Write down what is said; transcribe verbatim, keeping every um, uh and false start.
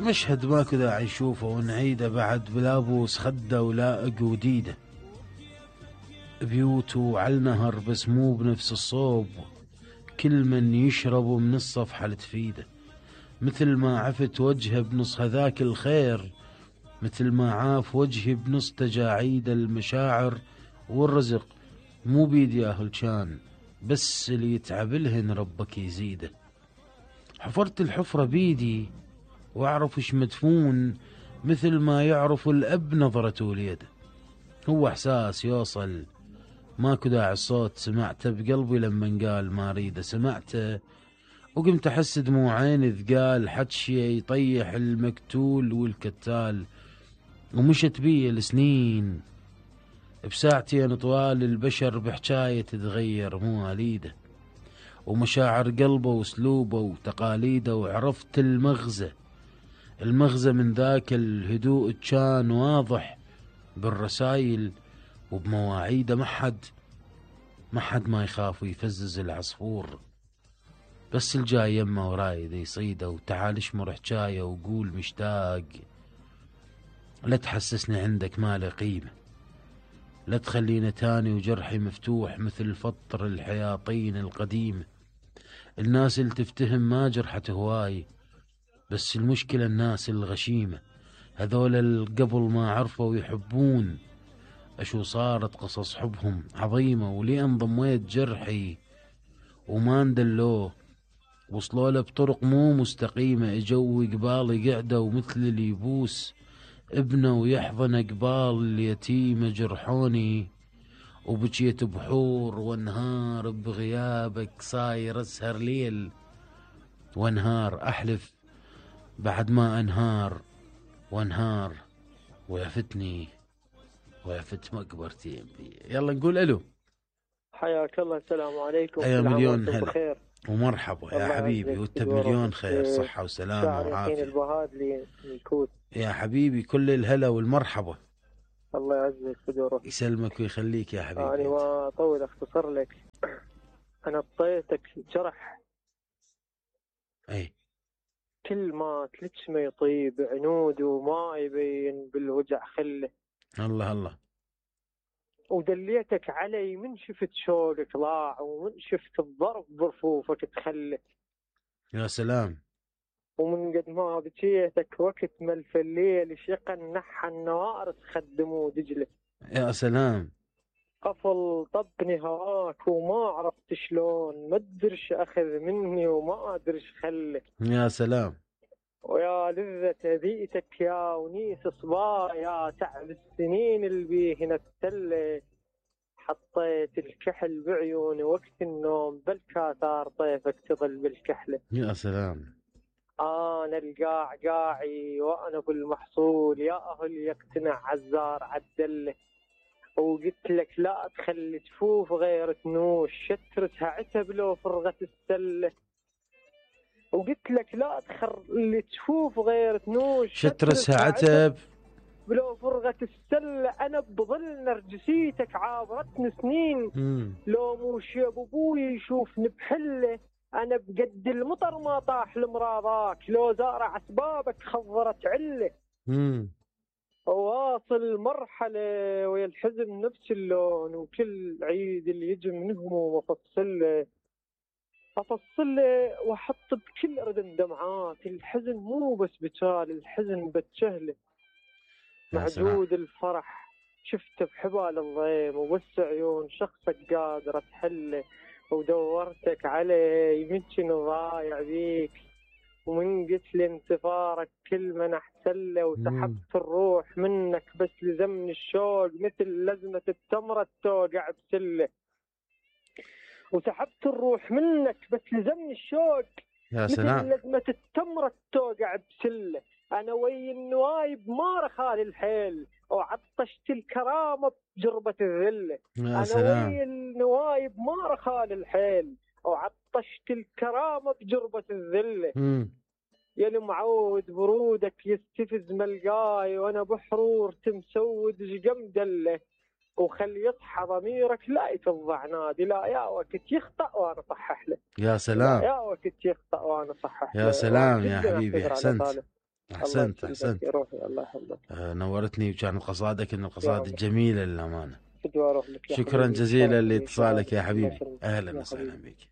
مشهد ماكو داعي نشوفه ونعيده بعد، بلابوس خده ولاءق وديده، بيوت على النهر بس مو بنفس الصوب، كل من يشرب من الصفحة لتفيده، مثل ما عفت وجهه بنص هذاك الخير، مثل ما عاف وجهي بنص تجاعيد المشاعر والرزق، مو بيد ياهل كان، بس اللي يتعب لهن ربك يزيده. حفرت الحفرة بيدي واعرف ايش مدفون، مثل ما يعرف الاب نظرته وليده. هو احساس يوصل، ماكو داعي الصوت، سمعته بقلبي لما قال ما اريده، سمعته وقمت احس دموعين ثقال، حدشي يطيح المقتول والكتال، ومشت بي السنين بساعتين طوال، البشر بحجاية تتغير مو وليده، ومشاعر قلبه واسلوبه وتقاليده، وعرفت المغزى، المغزى من ذاك الهدوء كان واضح بالرسايل وبمواعيده، ما حد ما حد ما يخاف ويفزز العصفور، بس الجاي يمه ورايد يصيده، وتعال اشمر حجايه وقول مشتاق، لا تحسسني عندك ما له قيمه، لا تخلينا تاني وجرحي مفتوح مثل فطر الحياطين القديمه. الناس اللي تفتهم ما جرحت هواي، بس المشكله الناس الغشيمه، هذول اللي قبل ما عرفوا يحبون اشو صارت قصص حبهم عظيمه، ولين ضميت جرحي وما ندلوه، وصلوا له بطرق مو مستقيمه، اجوا قبالي قعدوا مثل اللي يبوس ابنه ويحضن قبال اليتيمه، جرحوني وبجيت بحور وانهار بغيابك، صاير اسهر ليل وانهار، احلف بعد ما انهار وانهار، وعفتني وعفت مقبرتي. يلا نقول الو. حياك الله، السلام عليكم. يا مليون هلا بخير ومرحبا يا حبيبي، وانت بمليون خير، صحة وسلامة وعافية. البهادلي من الكوت يا حبيبي كل الهلا والمرحبا. الله يعزك بدورك. يسلمك ويخليك يا حبيبي. أنا ما أطول أختصر لك، أنا اعطيتك جرح اي كل ما تلتش ما يطيب عنود وما يبين بالوجع خله. الله الله. ودليتك علي من شفت شوقك ضاع، ومن شفت الضرب برفوفك تخلى. يا سلام. ومن قد ما بكيتك وقت ملف الليل، شقا نحى النوار تخدموا دجله. يا سلام. قفل طبني هواك وما عرفت شلون، ما ادرش اخذ مني وما ادرش خلك. يا سلام. ويا لذة بيئتك يا ونيس صبا، يا تعب السنين اللي بيهن التله. حطيت الكحل بعيوني وقت النوم، بالكاثار طيفك تظل بالكحله. يا سلام. انا القاع قاعي وانا بالمحصول، يا اهل يقتنع عزار عدله. وقلت لك لا تخلي تفوف غير تنوش، شترتها عتب لو فرغت السله. وقلت لك لا تخلي تفوف غير تنوش، شترتها عتب لو فرغت السله. انا بظل نرجسيتك عابرتني سنين، مم. لو مو شيب ابوي يشوفني بحله. انا بقد المطر ما طاح لمراضاك، لو زارع اسبابك خضرت عله. مم. واصل مرحلة ويا الحزن نفس اللون، وكل عيد اللي يجي من هموم افصله افصله واحط بكل اردن دمعات. الحزن مو بس بتال، الحزن بتشهله. معدود الفرح شفته بحبال الضيم، وبس عيون شخصك قادرة تحله. ودورتك علي يمكن ضايع بيك، ومن قتل انتظارك كل من احتله. وسحبت الروح منك بس لزمني الشوق، مثل لزمة التمرة توقع بسله. وسحبت الروح منك بس لزمني الشوق، يا سلام. مثل لزمة التمرة توقع بسله. انا وي النوايب ما رخالي الحيل، وعطشت الكرامة بجربة الذلة. يا سلام. انا وي النوايب ما رخالي الحيل، وعطشت الكرامة بجربة الذلة. مم. يا المعود برودك يستفز ملقاي، وانا بحرور تمسود شقم دله. وخل يصحى ضميرك لا يفضع نادي، لا يا وقت يخطأ وانا صحح له. يا سلام. يا وقت يخطأ وانا صحح له. يا سلام يا حبيبي، احسنت احسنت احسنت يا روحي، الله يحفظك. آه نورتني، وكانت قصائدك من يا القصائد الله. الجميله للامانه. فدوى اروح لك يا شكرا حبيبي. جزيلا شرف لي، لاتصالك يا شرف. الله حبيبي، يسلمك. اهلا يا وسهلا حبيبي. بك.